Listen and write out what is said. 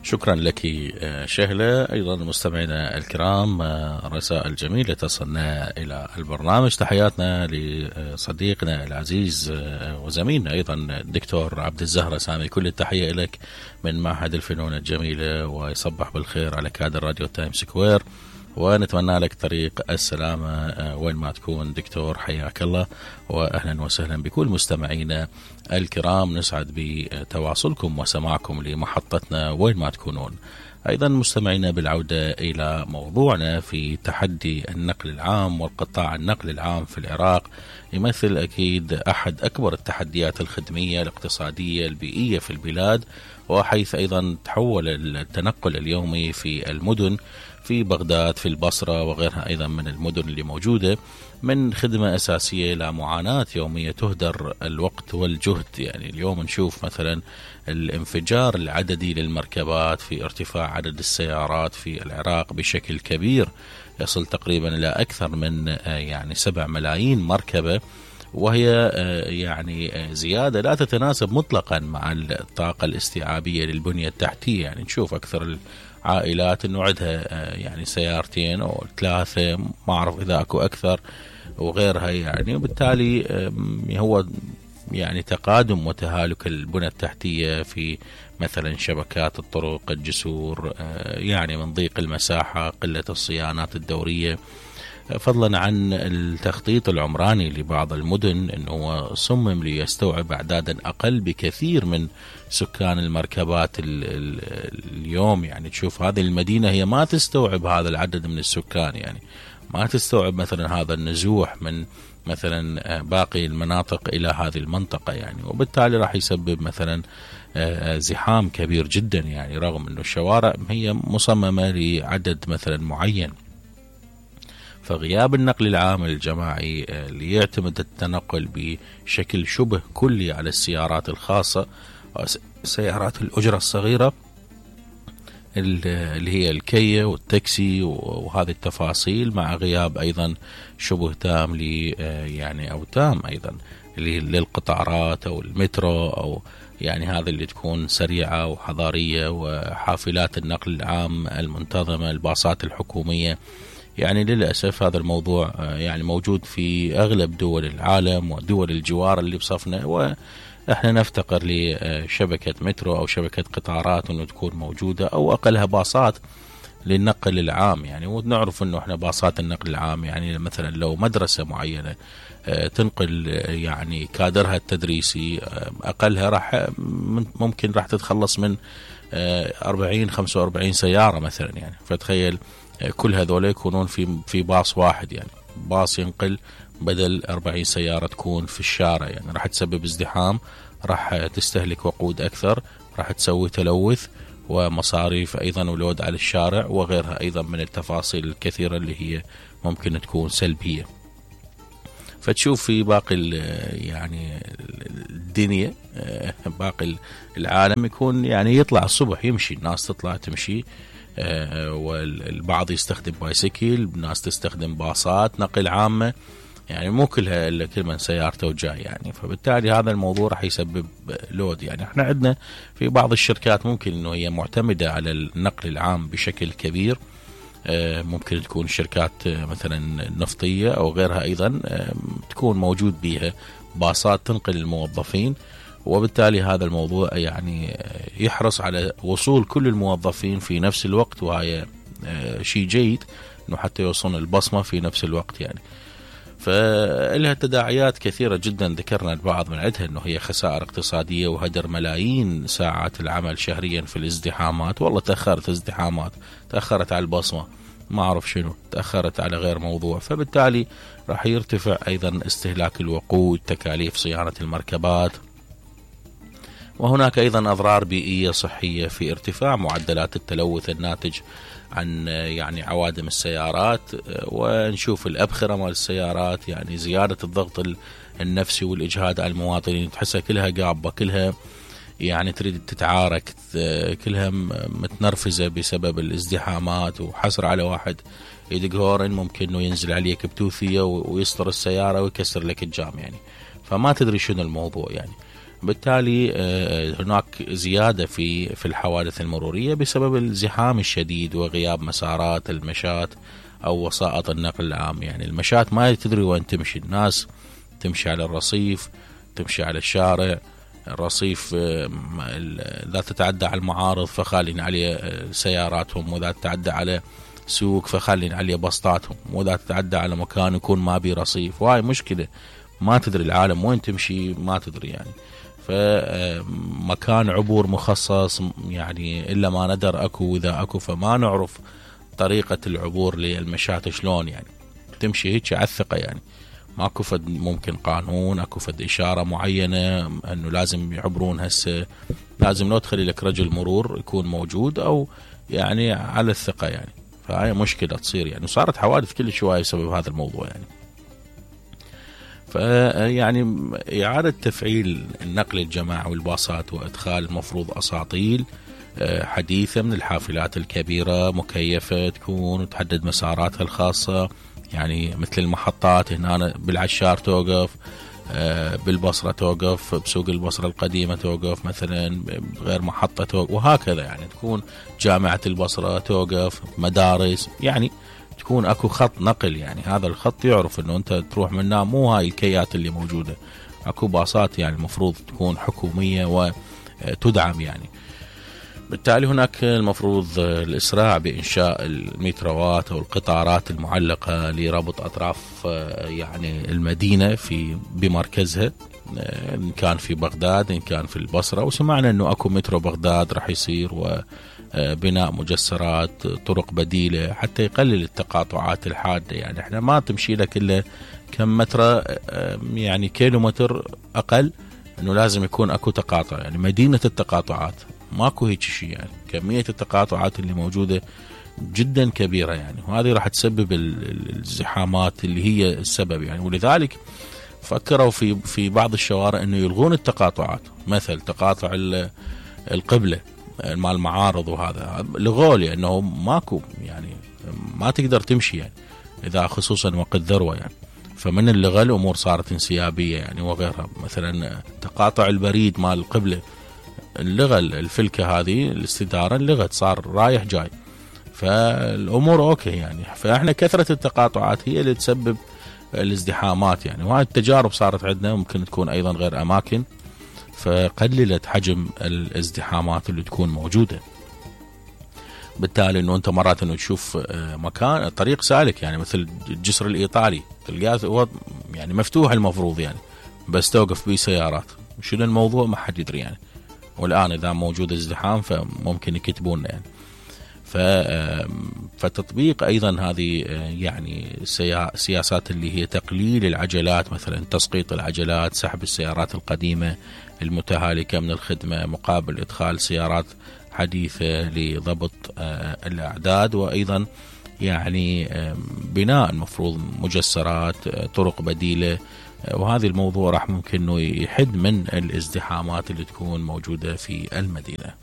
شكرا لك شهلة. أيضا مستمعينا الكرام، رسائل جميلة تصلنا إلى البرنامج. تحياتنا لصديقنا العزيز وزميلنا أيضا الدكتور عبد الزهرة سامي، كل التحية لك من معهد الفنون الجميلة، ويصبح بالخير على كادر راديو تايم سكوير، ونتمنى لك طريق السلامة وين ما تكون دكتور. حياك الله وأهلا وسهلا بكل مستمعينا الكرام. نسعد بتواصلكم وسماعكم لمحطتنا وين ما تكونون. أيضا مستمعينا بالعودة إلى موضوعنا في تحدي النقل العام والقطاع النقل العام في العراق، يمثل أكيد أحد أكبر التحديات الخدمية الاقتصادية البيئية في البلاد، وحيث أيضا تحول التنقل اليومي في المدن في بغداد في البصرة وغيرها أيضا من المدن اللي موجودة من خدمة أساسية إلى معاناة يومية تهدر الوقت والجهد. يعني اليوم نشوف مثلا الانفجار العددي للمركبات في ارتفاع عدد السيارات في العراق بشكل كبير، يصل تقريبا إلى أكثر من 7 ملايين مركبة، وهي يعني زيادة لا تتناسب مطلقا مع الطاقة الاستيعابية للبنية التحتية. يعني نشوف أكثر العائلات أنه عندها يعني سيارتين أو 3، ما أعرف إذا أكو أكثر وغيرها يعني، وبالتالي هو يعني تقادم وتهالك البنى التحتية في مثلا شبكات الطرق، الجسور، يعني من ضيق المساحة، قلة الصيانات الدورية، فضلا عن التخطيط العمراني لبعض المدن أنه صمم ليستوعب أعدادا أقل بكثير من سكان المركبات اليوم. يعني تشوف هذه المدينة هي ما تستوعب هذا العدد من السكان، يعني ما تستوعب مثلا هذا النزوح من مثلا باقي المناطق إلى هذه المنطقة يعني، وبالتالي راح يسبب مثلا زحام كبير جدا، يعني رغم أنه الشوارع هي مصممة لعدد مثلا معين. فغياب النقل العام الجماعي اللي يعتمد التنقل بشكل شبه كلي على السيارات الخاصة وسيارات الأجرة الصغيرة اللي هي الكيا والتاكسي وهذه التفاصيل، مع غياب أيضا شبه تام يعني أو تام أيضا للقطارات أو المترو أو يعني هذه اللي تكون سريعة وحضارية، وحافلات النقل العام المنتظمة، الباصات الحكومية. يعني للأسف هذا الموضوع يعني موجود في أغلب دول العالم ودول الجوار اللي بصفنا، وإحنا نفتقر لشبكة مترو أو شبكة قطارات أنه تكون موجودة، أو أقلها باصات للنقل العام. يعني ونعرف أنه إحنا باصات النقل العام يعني مثلا لو مدرسة معينة تنقل يعني كادرها التدريسي، أقلها ممكن راح تتخلص من 40-45 سيارة مثلا يعني. فتخيل كل هذول يكونون في باص واحد، يعني باص ينقل بدل 40 سيارة تكون في الشارع، يعني راح تسبب ازدحام، راح تستهلك وقود أكثر، راح تسوي تلوث ومصاريف أيضا ولود على الشارع وغيرها أيضا من التفاصيل الكثيرة اللي هي ممكن تكون سلبية. فتشوف في باقي يعني الدنيا، باقي العالم يكون يعني يطلع الصبح يمشي، الناس تطلع تمشي، والبعض يستخدم بايسكل، الناس تستخدم باصات نقل عامة، يعني مو كلها إلا كل من سيارته وجاي يعني. فبالتالي هذا الموضوع راح يسبب لود. يعني احنا عندنا في بعض الشركات ممكن انه هي معتمدة على النقل العام بشكل كبير، ممكن تكون شركات مثلا نفطية أو غيرها أيضا تكون موجود بها باصات تنقل الموظفين، وبالتالي هذا الموضوع يعني يحرص على وصول كل الموظفين في نفس الوقت، وهي شيء جيد انه حتى يوصلون البصمة في نفس الوقت يعني. فلها تداعيات كثيرة جدا، ذكرنا البعض من عندها انه هي خسائر اقتصادية وهدر ملايين ساعات العمل شهريا في الازدحامات. والله تأخرت ازدحامات، تأخرت على البصمة، ما أعرف شنو، تأخرت على غير موضوع، فبالتالي راح يرتفع أيضا استهلاك الوقود، تكاليف صيانة المركبات، وهناك أيضا أضرار بيئية صحية في ارتفاع معدلات التلوث الناتج عن يعني عوادم السيارات. ونشوف الأبخرة مال السيارات، يعني زيادة الضغط النفسي والإجهاد على المواطنين، تحسها كلها قابة، كلها يعني تريد تتعارك، كلها متنرفزة بسبب الازدحامات، وحصر على واحد يدق هورن ممكن انه ينزل عليك بتوثية ويسطر السيارة ويكسر لك الجام يعني. فما تدري شنو الموضوع يعني. بالتالي هناك زيادة في الحوادث المرورية بسبب الزحام الشديد وغياب مسارات المشاة أو وسائط النقل العام. يعني المشاة ما تدري وين تمشي، الناس تمشي على الرصيف، تمشي على الشارع، الرصيف لا تتعدى على المعارض فخالين عليه سياراتهم، وإذا تتعدى على سوق فخالين عليه بسطاتهم، وإذا تتعدى على مكان يكون ما بي رصيف، وهاي مشكلة ما تدري العالم وين تمشي، ما تدري يعني. فمكان عبور مخصص يعني إلا ما ندر أكو، وإذا أكو فما نعرف طريقة العبور للمشاة شلون يعني تمشي هيك على الثقة. يعني ماكو فد ممكن قانون، اكو فد إشارة معينة أنه لازم يعبرون هسه، لازم لو تخلي لك رجل مرور يكون موجود أو يعني على الثقة يعني. فهاي مشكلة تصير يعني، وصارت حوادث كل شوية بسبب هذا الموضوع يعني. فيعني إعادة تفعيل النقل الجماعي والباصات وإدخال المفروض أساطيل حديثة من الحافلات الكبيرة مكيفة تكون وتحدد مساراتها الخاصة، يعني مثل المحطات هنا بالعشار توقف، بالبصرة توقف، بسوق البصرة القديمة توقف مثلا، غير محطة توقف، وهكذا يعني تكون جامعة البصرة توقف، مدارس، يعني تكون اكو خط نقل. يعني هذا الخط يعرف انه انت تروح منه، مو هاي الكيات اللي موجودة، اكو باصات يعني المفروض تكون حكومية وتدعم يعني. بالتالي هناك المفروض الإسراع بإنشاء المتروات أو القطارات المعلقة لربط أطراف يعني المدينة بمركزها، إن كان في بغداد إن كان في البصرة. وسمعنا أنه أكو مترو بغداد رح يصير، وبناء مجسرات طرق بديلة حتى يقلل التقاطعات الحادة. يعني احنا ما تمشي لك إلا كم متر يعني كيلومتر أقل، أنه لازم يكون أكو تقاطع، يعني مدينة التقاطعات ماكو هيك شيء. يعني كمية التقاطعات اللي موجودة جدا كبيرة يعني، وهذه راح تسبب الزحامات اللي هي السبب يعني. ولذلك فكروا في بعض الشوارع انه يلغون التقاطعات، مثل تقاطع القبلة مع المعارض، وهذا لغوه لانه ماكو يعني ما تقدر تمشي يعني اذا خصوصا وقت ذروة يعني. فمن اللغة الامور صارت انسيابية يعني وغيرها. مثلا تقاطع البريد مع القبلة اللغة الفلكة هذه الاستدارة اللغة صار رايح جاي، فالأمور أوكي يعني. فإحنا كثرة التقاطعات هي اللي تسبب الازدحامات يعني، وهذه التجارب صارت عندنا، ممكن تكون أيضا غير أماكن، فقللت حجم الازدحامات اللي تكون موجودة. بالتالي أنه أنت مرات أنه تشوف مكان طريق سالك يعني مثل الجسر الإيطالي تلقاه هو يعني مفتوح المفروض يعني، بس توقف به سيارات، شنو الموضوع ما حد يدري يعني. والآن إذا موجود ازدحام فممكن يكتبون يعني. فتطبيق أيضا هذه يعني سياسات اللي هي تقليل العجلات، مثلا تسقيط العجلات، سحب السيارات القديمة المتهالكة من الخدمة مقابل إدخال سيارات حديثة لضبط الأعداد، وأيضا يعني بناء المفروض مجسرات طرق بديلة. وهذا الموضوع راح ممكن انه يحد من الازدحامات اللي تكون موجودة في المدينة.